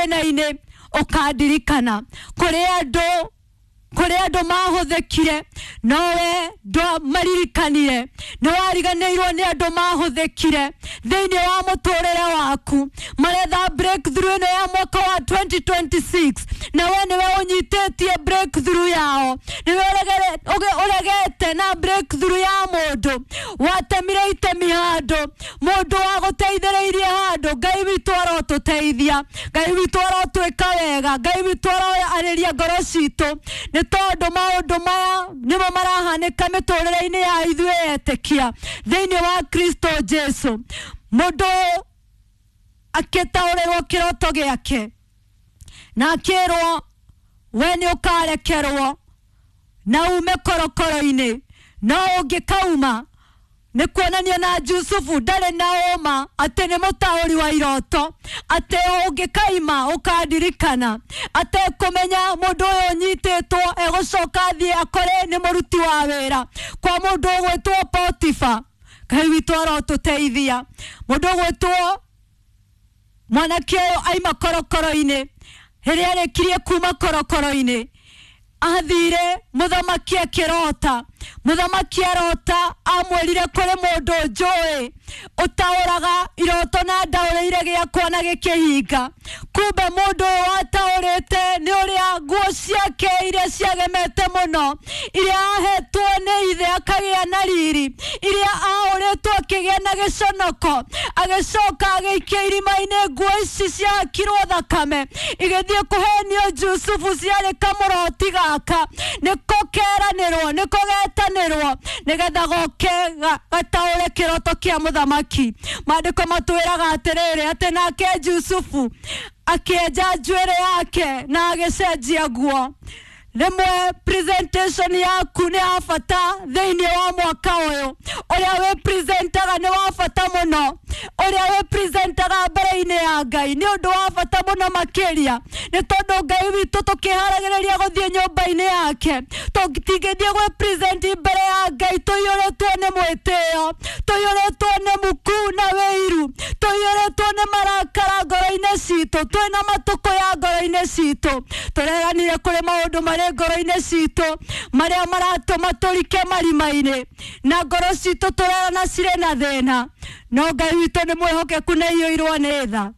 Thĩna-inĩ ũkandirikana. Kũrĩ andũ mahũthĩkire, nowe ndwamaririkanire. Nĩ wariganĩirwo nĩ andũ mahũthĩkire thĩinĩ wa mũtũrĩre waku. Maretha breakthrough ĩno ya mwaka wa 2026, na we nĩwe ũnyitĩtie breakthrough yao. Nĩwe ũregete na breakthrough ya mũndũ watemire itemi handũ, mũndũ wagũteithĩrĩirie handũ. Ngai witũ arotũteithia, Ngai witũ arotwĩka wega, Ngai witũ aroarĩria ngoro citũ, nĩ tondũ maũndũ maya nĩmo marahanĩka mĩtũrĩre-inĩ ya ithuĩ etĩkia thĩinĩ wa Kristo Jesu. Mũndũ akĩtaũrĩrwo kĩroto gĩake na akĩrwo, "We nĩ ũkarekerwo na ume korokoro-inĩ, no ũngĩkauma." Nĩ kuonania na Jusufu ndarĩ na ũma atĩ nĩ mũtaũri wa iroto, atĩ ũngĩkaima ũkandirikana, atekũmenya mũndũ ũyũ ũnyitĩtwo egũcoka athiĩ akore nĩ mũruti wa wĩra kwa mũndũ ũgwĩtwo Potifa. Ngai witũ arotũteithia. Mũndũ ũgwĩtwo mwanake ũyũ aima korokoro-inĩ, rĩrĩa arĩkirie kuma korokoro-inĩ, athire mũthamaki akĩrota. Mũthamaki arota, amwĩrire, "Kũrĩ mũndũ njũĩ ũtaũraga iroto na ndaũrĩire gĩakwa na gĩkĩhinga." Kumbe mũndũ ũyũ wataũrĩte nĩ ũrĩa nguo ciake iria ciagemete mũno, iria ahetwo nĩ ithe akagĩa na riri, iria aũrĩtwo akĩgĩa na gĩconoko, agĩcoka agĩikia irima-inĩ. Nguo ici ciahakirwo thakame igĩthiĩ kũhenio Jusufu ciarĩ kamũroti gaka, nĩko keranĩrwo, nĩko getanĩrwo nĩgetha goke gataũre kĩroto kĩa mũthamaki. Maandĩko matwĩraga atĩrĩrĩ, atĩ nake Jusufu akĩenja njuĩrĩ yake na agĩcenjia nguo. Rĩmwe presentation yaku nĩ ya bata thĩinĩ wa mwaka ũyũ. Ũrĩa wĩ presentaga nĩ wa bata mũno. Ũrĩa wĩ presentaga mbere-inĩ ya Ngai nĩ ũndũ wa bata mũno makĩria, nĩ tondũ Ngai witũ, tũkĩharagĩrĩria gũthiĩ nyũmba-inĩ yake, tũtingĩthiĩ gwĩ present mbere ya Ngai tũiyũrĩtwo nĩ mwĩtĩo, tũiyũrĩtwo nĩ muku na wĩiru, tũiyũrĩtwo nĩ marakara ngoro-inĩ citũ, twĩna matukũ ya ngoro-inĩ citũ. Tũreranire kũrĩ maũndũ marĩ ngoro-inĩ citũ marĩa maratũma tũrike marima-inĩ, na ngoro citũ tũrerana cirĩ na thĩna, no Ngai witũ nĩ mwĩhokeku na iyũirwo nĩ tha.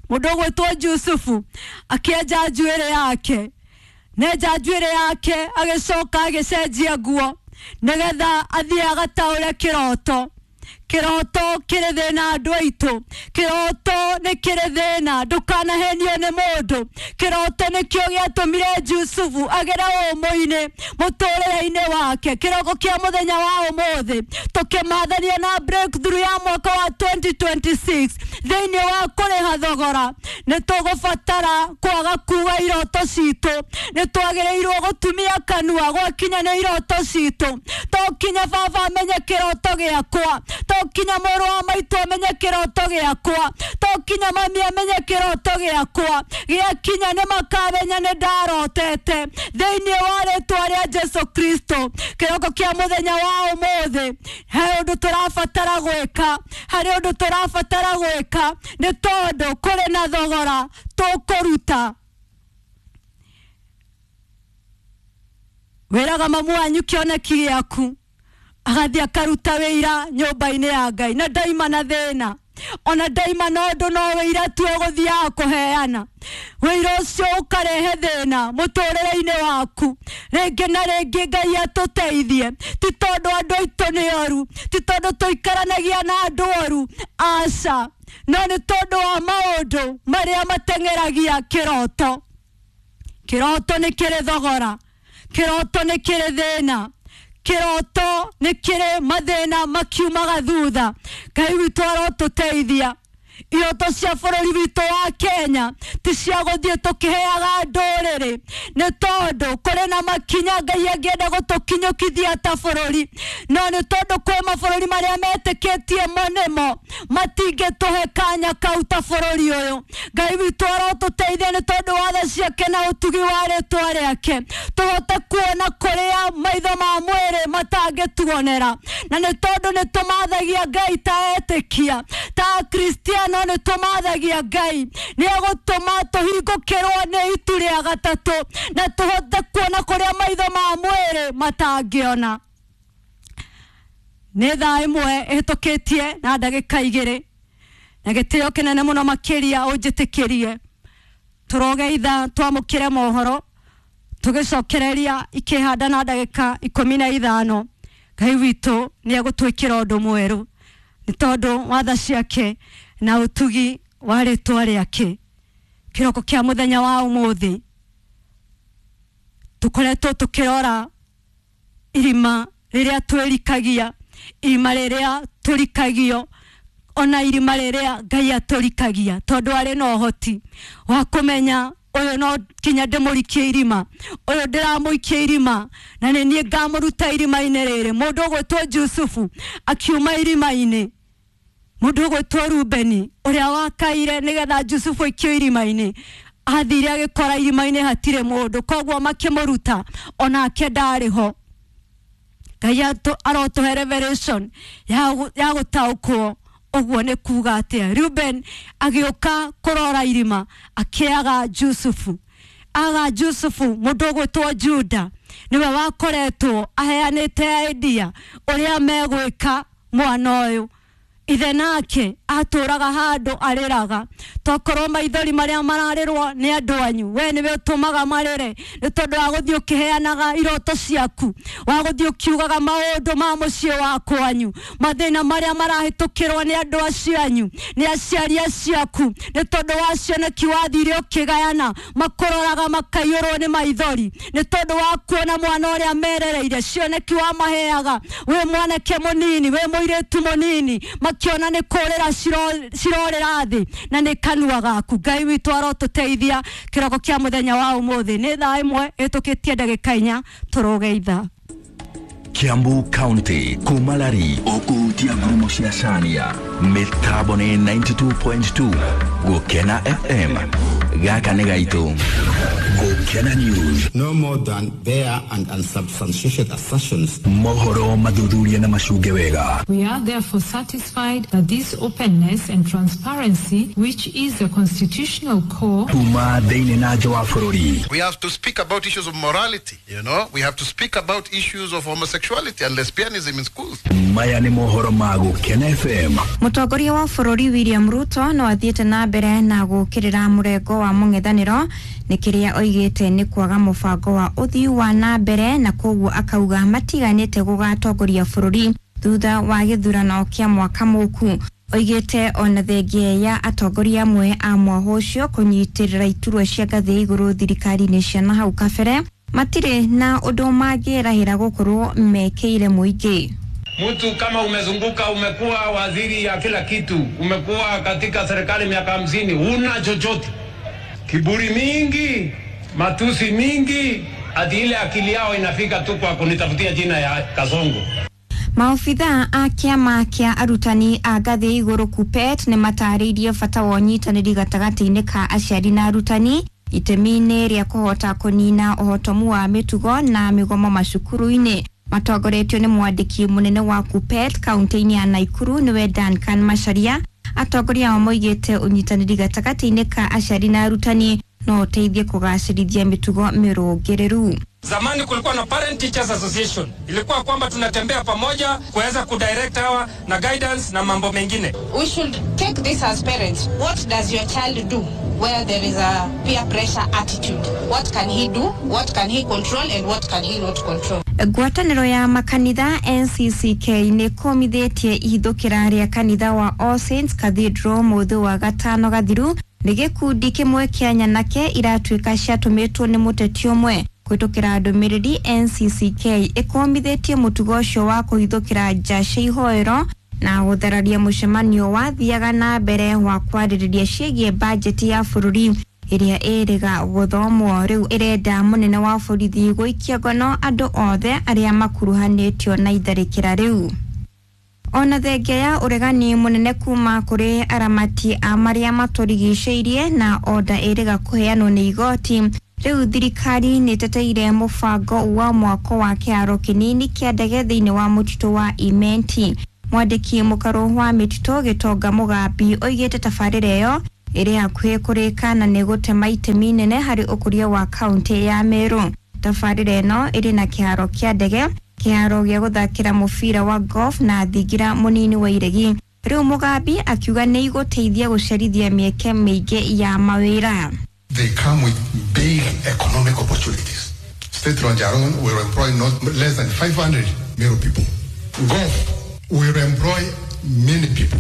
Mũndũ ũgwĩtwo Jusufu akĩenja njuĩrĩ yake, nenja njuĩrĩ yake, agĩcoka agĩcenjia nguo nĩgetha athiĩ agataũre kĩroto. Kĩroto kĩrĩ thĩna, andũ aitũ. Kĩroto nĩ kĩrĩ thĩna, ndũkanahenio nĩ mũndũ. Kĩroto nĩkĩo gĩatũmire Jusufu agere ũmũ-inĩ mũtũrĩre-inĩ wake. Kĩroko kĩa mũthenya wa ũmũthĩ, tũkĩmathania na breakthrough ya mwaka wa 2026 thĩinĩ wa kũrĩha thogora, nĩ tũgũbatara kwaga kuga iroto citũ. Nĩ twagĩrĩirwo gũtumia kanua gwakinya nĩ iroto citũ. To kinya baba amenye kĩroto gĩakwa, to kinya mũrũ wa maitũ amenye kĩroto gĩakwa, to kinya mami amenye kĩroto gĩakwa. Gĩakinya nĩ makamenya nĩ ndarotete thĩinĩ wa rĩtwa rĩa Jesu Kristo. Kĩroko kĩa mũthenya wa ũmũthĩ, he ũndũ tũrabatara gwĩka, harĩ ũndũ tũrabatara gwĩka, nĩ tondũ kũrĩ na thogora tũkũruta. Wĩraga mamu wanyu kĩoneki gĩaku, agathiĩ akaruta wĩira nyũmba-inĩ ya Ngai, na ndaima na thĩna, ona ndaima na ũndũ, no wĩira tu ũgũthiaga kũheana. Wĩira ũcio ũkarehe thĩna mũtũrĩre-inĩ waku rĩngĩ na rĩngĩ. Ngai atũteithie. Ti tondũ andũ aitũ nĩ oru, ti tondũ tũikaranagia na andũ oru, aca, no nĩ tondũ wa maũndũ marĩa mateng'eragia kĩroto. Kĩroto nĩ kĩrĩ thogora, kĩroto nĩ kĩrĩ thĩna, kĩroto nĩ kĩrĩ mathĩna makiumaga thutha. Ngai witũ arotũteithia. Iroto cia bũrũri witũ wa Kenya ti cia gũthiĩ tũkĩheaga ndũrĩrĩ, nĩ tondũ kũrĩ na makinya Ngai angĩenda gũtũkinyũkithia ta bũrũri, no nĩ tondũ kwĩ mabũrũri marĩa metĩkĩtie mo nĩmo matingĩtũhe kanya kau ta bũrũri ũyũ. Ngai witũ arotũteithia, nĩ tondũ wa tha ciake na ũtugi wa rĩtwa rĩake, tũhote kuona kũrĩa maitho ma mwĩrĩ matangĩtuonera. Na nĩ tondũ nĩ tũmathagia Ngai ta etĩkia, ta Akristiano. nĩ tũmathagia Ngai nĩ egũtũma tũhingũkĩrwo nĩ itu rĩa gatatũ na tũhote kuona kũrĩa maitho ma mwĩrĩ matangĩona. Nĩ thaa 1 ĩhĩtũkĩtie na ndagĩka 2 na gĩtĩo kĩnene mũno makĩria ũnjĩtĩkĩrie tũrogeitha twamũkĩre mohoro tũgĩcokereria ikĩhanda na ndagĩka 15. Ngai witũ nĩ egũtwĩkĩra ũndũ mwerũ nĩ tondũ wa tha ciake na ũtugi wa rĩtwa rĩake. Kĩroko kĩa mũthenya wa ũmũthĩ tũkoretwo tũkĩrora irima rĩrĩa twĩrikagia, irima rĩrĩa tũrikagio, ona irima rĩrĩa Ngai atũrikagia, tondũ arĩ na ũhoti wa kũmenya ũyũ no kinya ndĩmũrikie irima, ũyũ ndĩramũikia irima na nĩ niĩ ngamũruta irima-inĩ rĩrĩ. Mũndũ ũgwĩtwo Jusufu akiuma irima-inĩ, mũndũ ũgwĩtwo Rubeni ũrĩa wakaire nĩgetha Jusufu aikio irima-inĩ athire agĩkora irima-inĩ hatirĩ mũndũ, koguo makĩmũruta onake ndarĩ ho. Ngai arotũhe revelation ya gũtaũkwo ũguo nĩ kuga atĩa. Reuben agĩũka kũrora irima akĩaga Jusufu, aga Jusufu mũndũ ũgwĩtwo Juda nĩwe wakoretwo aheanĩte idea ũrĩa megwĩka mwana ũyũ. Ithe nake atũraga handũ arĩraga, tokorwo maithori marĩa mararĩrwo nĩ andũ anyu we nĩwe ũtũmaga marĩre nĩ tondũ wa gũthiĩ ũkĩheanaga iroto ciaku, wa gũthiĩ ũkiugaga maũndũ ma mũciĩ wa kwanyu, mathĩna marĩa marahĩtũkĩrwo nĩ andũ acio anyu, nĩ aciari acio aku, nĩ tondũ wa cioneki wathire ũkĩgayana, makũroraga makaiyũrwo nĩ maithori nĩ tondũ wa kuona mwana ũrĩa merereire cioneki wamaheaga wĩ mwanake mũnini, wĩ mũirĩtu mũnini, makiona nĩ kũrĩra cirorĩra thĩ na nĩ kanua gaku. Ngai witũ arotũteithia kĩroko kĩa mũthenya wa ũmũthĩ. Nĩ thaa 1 ĩhĩtũkĩtie ndagĩka 4 tũrũge ithaa. Kiambu County kumalari ukuhutia ngurumo cia Cania mĩtambo nĩ 92.2 Gũkena FM gaka nĩ gaitũ. Gũkena News. No more than bare and unsubstantiated assertions. Mohoro mathuthuria na macunge wega. We are therefore satisfied that this openness and transparency, which is the constitutional core, kuma thĩinĩ na nja wa bũrũri. We have to speak about issues of morality, you know. We have to speak about issues of homosexuality and lesbianism in schools. Maya nĩ mohoro ma Gũkena FM. Mũtongoria wa bũrũri William Ruto no athiĩte na mbere na gũkĩrĩra mũrengo wa mũng'ethanĩro nĩ kĩrĩa oigĩte nĩ kwaga mũbango wa ũthii wa na mbere, na koguo akauga matiganĩte gũgatongoria bũrũri thutha wa gĩthurano kĩa mwaka mũku. Oigĩte ona thengia ya atongoria amwe a mwaho ũcio kũnyitĩrĩra iturwa cia ngathĩ ya igũrũ thirikari-inĩ cia na hau kabere matirĩ na ũndũ mangĩrahĩra gũkorwo mekĩire mũingĩ. Mtu kama umezunguka, umekuwa waziri ya kila kitu, umekuwa katika serikali miaka 50, huna chochote. Kiburi mingi, matusi mingi, ati ile akili yao inafika tu kwa kunitafutia jina ya Kasongo. Maobithaa a kĩama kĩa arutani a ngathĩ ya igũrũ KUPPET nĩ matarĩirie bata wa ũnyitanĩri gatagatĩ-inĩ ka aciari na arutani itemi-inĩ rĩa kũhota kũnina ũhotomu wa mĩtugo na mĩgomo macukuru-inĩ. Matongoretio nĩ mwandĩki mũnene wa KUPPET kaunti-inĩ ya Nakuru nĩwe Duncan Macharia. Atongoria ao moigĩte ũnyitanĩri gatagatĩ-inĩ ka aciari na arutani no ũteithie kũgacĩrithia mĩtugo mĩrũngĩrĩru. Zamani kulikuwa na Parent Teachers Association, ilikuwa kwamba tunatembea pamoja kuweza kudirect hawa na guidance na mambo mengine. We should take this as parents. What does your child do where there is a peer pressure attitude? What can he do? What can he control and what can he not control? Ngwatanĩro ya makanitha NCCK nĩ kũmithĩtie ihithũkĩra rĩa kanitha wa All Saints Cathedral mũthĩ wa gatano gathiru nĩ gĩkundi kĩmwe kĩa nyanake iratuĩka ciatũmĩtwo nĩ mũteti ũmwe. Kũhĩtũkĩra ndũmĩrĩri NCCK ĩkũmithĩtie mũtugo ũcio wa kũhithũkĩra nja cia ihoero na gũthararia mũcemanio wathiaga na mbere wa kwarĩrĩria ciĩgiĩ bajeti ya bũrũri ĩrĩa ĩrĩga gũthomwo. Rĩu ĩrenda mũnene wa borithi gũikia ngono andũ othe arĩa makuruhanĩtio na itharĩkĩra rĩu. Ona thengia ya ũregani mũnene kuma kũrĩ aramati a marĩa matũrigicĩirie na oda ĩrĩga kũheanwo nĩ igoti, rĩu thirikari nĩ ĩteteire mũbango wa mwako wa kĩharo kĩnini kĩa ndege thĩinĩ wa mũtitũ wa Imenti. Mwandĩki mũkarũ wa mĩtitũ Gĩtonga Mũgambi oigĩte tabarĩra ĩyo ĩrĩ hakuhĩ kũrĩka na nĩ gũtema itemi inene harĩ ũkũria wa kaunti ya Meru. Tabarĩra ĩno ĩrĩ na kĩharo kĩa ndege, kĩharo gĩa gũthakĩra mũbira wa golf na thingira mũnini wa iregi. Rĩu Mũgambi akiuga nĩ igũteithia gũcerithia mĩeke mĩingĩ ya mawĩra. They come with big economic opportunities. State Launch alone will employ not less than 500 Meru people. Golf will employ many people.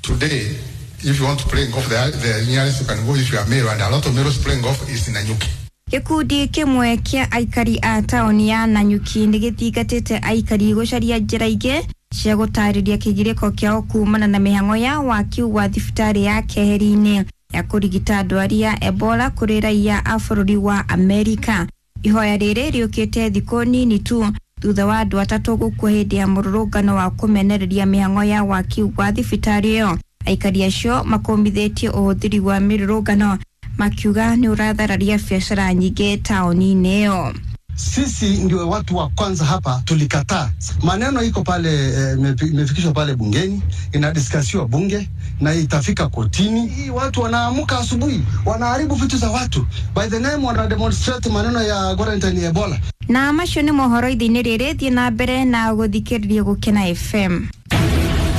Today, if you want to play golf, the nearest you can go if you are Meru, and a lot of Merus playing golf is in Nanyuki. Gĩkundi kĩmwe kĩa aikari a taũni ya Nanyuki nĩ gĩthingatĩte aikari gũcaria njĩra ingĩ cia gũtarĩria kĩgirĩko kĩao kumana na mĩhang'o ya waki wa thibitarĩ ya Keheri-inĩ ya kũrigita ndwari ya Ebola kũrĩ raiya a bũrũri wa Amerika. Ihoya rĩrĩ rĩũkĩte thikũ nini tu thutha wa andũ atatũ gũkua hĩndĩ ya mũrũrũngano wa kũmenereria mĩhang'o ya waki wa thibitarĩ ĩyo. Aikari acio makũmithĩtie ũhũthĩri wa mĩrũrũngano makiuga nĩ ũrathararia biacara nyingĩ taũni-inĩ ĩyo. Sisi ndio watu wa kwanza hapa tulikataa. Maneno iko pale, imefikishwa pale bungeni, inadiskasiwa bunge na itafika kotini. Hii watu wanaamuka asubuhi, wanaharibu vitu za watu by the name, wana demonstrate maneno ya quarantine Ebola. Na macio nĩ mohoro ithe-inĩ rĩrĩ, thiĩ na mbere na gũthikĩrĩria Gũkena FM.